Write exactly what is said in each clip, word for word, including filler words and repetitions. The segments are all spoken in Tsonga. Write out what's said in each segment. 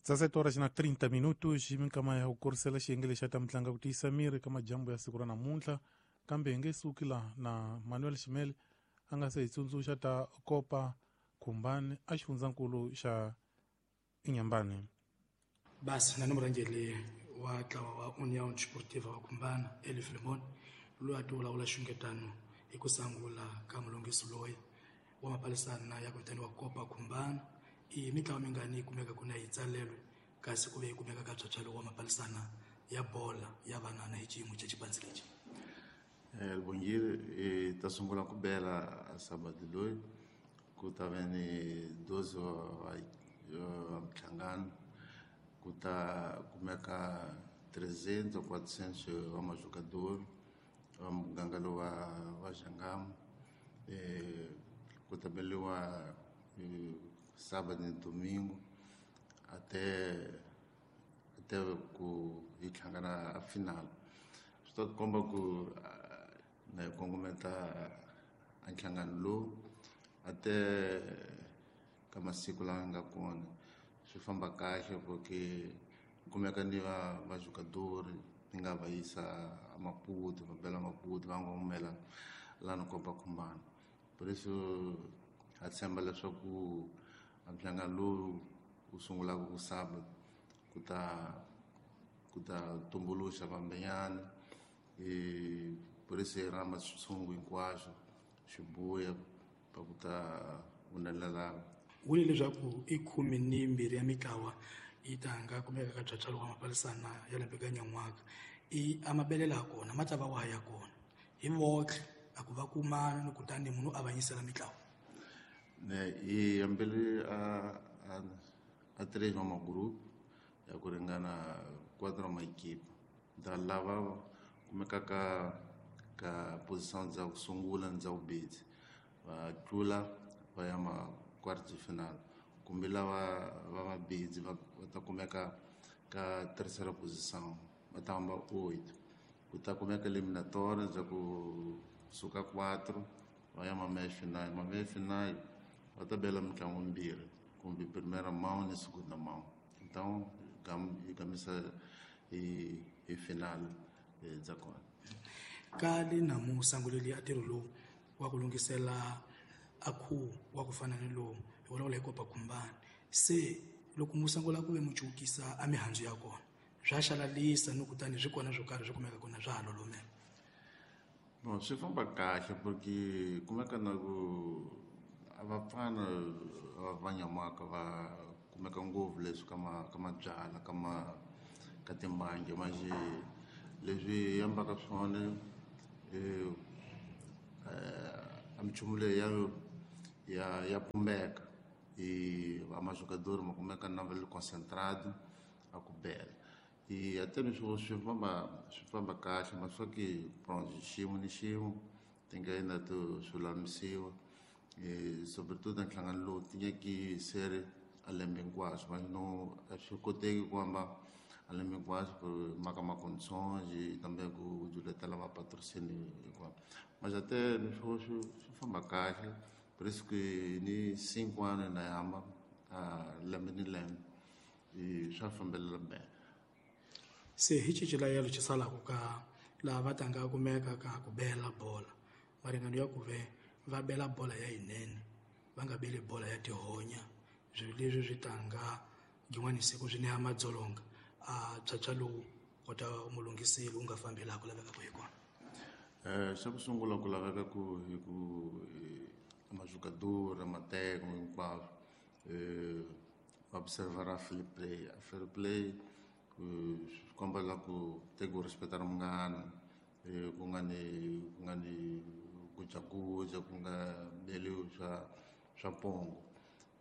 dezassete horas na trinta minutos minkama ya ku kurisela xiyenge lexi ta mitlanga ku tiyisa miri ka majambu ya siku ra namuntlha kambe hi nge suki la na Manuel Ximele a nga se hi tsundzuxa ta Copa Khumbane a xifundzankulu xa Inhambane. Basi na murhangeri wa ntlawa wa União Desportiva wa Khumbana Eli Filemon loyi a ti vulavula xungetano hi ku sangula ka mulunghisi loyi wa mapalisana ya ku vitaniwa Copa Khumbana. I mitlawa mingani yi kumeka ku na yi tsalelo kasi ku ve yi kumeka ka phyaphyalo wa mapalisana ya bola ya vanana hi xiyimo xa xipandzi lexi. Lubongile hi ta sungula ku bela sabado loyi ku ta ve ni doze wa minhlangano ku ta kumeka trezentos ou quatrocentos wa majogador wa muganga lowu wa wa Jangamo ku ta beliwa sábado ni domingo até até ku hi hlangana a final. Swi ta komba ku na hi kongometa a nhlangano lowu até ka masiku lawa nga kona swi famba kahle porque kumeka ni va va jogador ni nga va yisa a Maputo va bela Maputo va ngomela lana Copa Khumbane. Por isso ha tshemba leswaku a nhlangano lowu wu sungulaka ku sábado ku ta ku ta tumbuluxa vambenyana e por isso hi rhamba switshungu hinkwaswo swi buya pa ku ta humelela. Vule leswaku i khume ni mbirhi ya mitlawa yi ta nga kumeka ka phyaphyalo wa mapalisana ya lembe ka nyan'waka i a mabelela ya kona ma ta va wa ya kona hi votlhe a ku va kumana ni kutani munhu a avanyisela mitlawa. Ne hi hambele a a a três wa magrupo ya ku ringana quatro ma equipe da lava kumeka ka ka posição dza ku sungula ni dza vumbirhi va tlula va ya ma quarto final kumbe lava va mabidzi va ta kumeka ka terceira posição va ta hamba oito ku ta kumeka eliminatória dza ku suka quatro va ya ma meia final ma meia final va ta bela mitlangu mimbirhi kumbe primeira mão ni segunda mão. Então hi gamisa hi hi final dza kona. Ka le namu sanguleli a ntirho lowu wa ku lunghisela a khuvo wa ku fana ni lowu hi vulavula hi Copa Khumbane se loko mu sungula ku ve mu cukisa a mihandzu ya kona swa xalalisa ni kutani swi kona swo karhi swi kumeka kona swa ha lolomela. Bon, swi famba kahle porque kumeka na ku a vapfana va nyamaka va kumeka ngopfu leswi ka ma ka mabyala ka ma ka timbangi manje leswi yambaka swona eh a minchumu leyi ya ya ya pumbeka e va majogador ma kumeka na va le concentrado a ku bela e até ni swi swi famba swi famba kahle mas só que pronto xiyimo ni xiyimo ti nga endla to swi lulamisiwa e sobretudo nhlangano lowu ti nyaki sere a lembe hinkwaswo mas no a swi koteki ku hamba a lembe hinkwaswo ku maka ma condições e também ku juletela va patrocínio hinkwaswo mas até ni swo swi famba kahle. Por isso que ni cinco anos na hamba a lembe ni lembe e swa fambelela bem. Se hi cicila yalo xisalaka ka laha va tanga kumeka ka ku bela bola maringano ya ku ve va bela bola ya yinene va nga beli bola ya tihonya swilo leswi swi tanga yin'wana siku swi neha madzolonga a phyaphyalo lowu kota mulunghiseli wu nga fambi laha ku lavekaka hi kona. Eh xa ku sungula ku laveka ku hi ku majogador mateko hinkwaswo eh observar fair play fair play swi komba la ku teka u respecta munghana ku nga ni ku nga ni gujaguja ku nga beliwi swa swa pongo.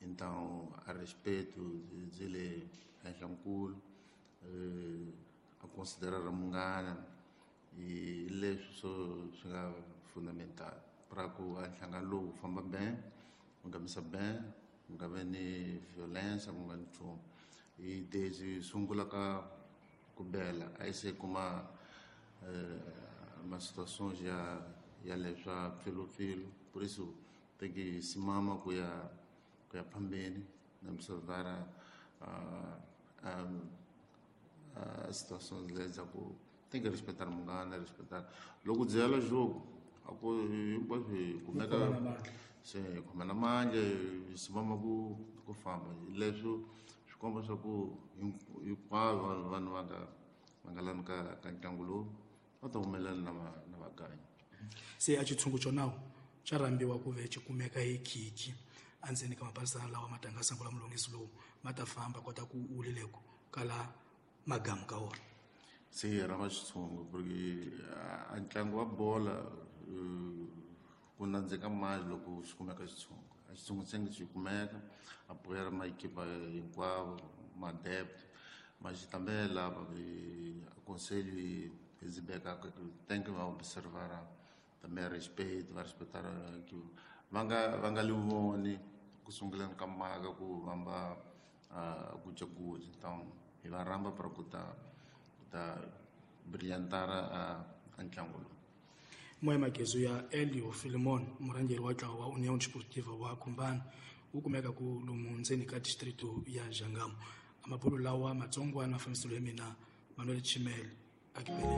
Então a respeito byi le henhla nkulu a considerar munghana hi leswi swo swi nga fundamental para ku a nhlangano lowu wu famba bem wu nghamisa bem ku nga vi ni violência ku nga ni nchumu. Hi desde sungula ka ku bela a yi se kuma ma situações ya ya leswa pfilupfilu por isso tem que simama ku ya ku ya phambeni na observar a um, a situações lezaku tem que respeitar munghana, respeitar loko byela jogo a ku hinkwaswo hi kumeka se hi khomana mandla hi simama ku ku famba leswo swi komba swa ku hinkwavo vanhu va nga va nga lani ka ka ntlangu lowu va ta humelela na va na vaganyi. Se a xitshungu xonawu xa rhambiwa ku ve xi kumeka hi khikhi endzeni ka mapalisana lawa ma tanga sangula mulungisi lowu ma ta famba kota ku wulileko kala magamu ka wona. Se hi rhamba xitshungu porque a ntlangu wa bola ku nandzika mali loko xi kumeka xitshungu. A xitshungu se xi kumeka a apoiar ma equipa hinkwavo ma-adepto mas também lá aconselho e exibir tem que observar também respeito vai respeitar que vanga vanga livoni ku sunguleni ka maka ku vamba gujaguja então hi va rhamba para ku ta ku ta brilhantar a ntlangu lowu. Moya Magezu ya Elio Filimon murhangeri wa ntlawa wa União Desportiva wa Khumbana wu kumeka ku lomu ndzeni ka distrito ya Jangamo. Amabulu lawa matsongwana mafambiselo ya mina Manuel Chimel akipeleni.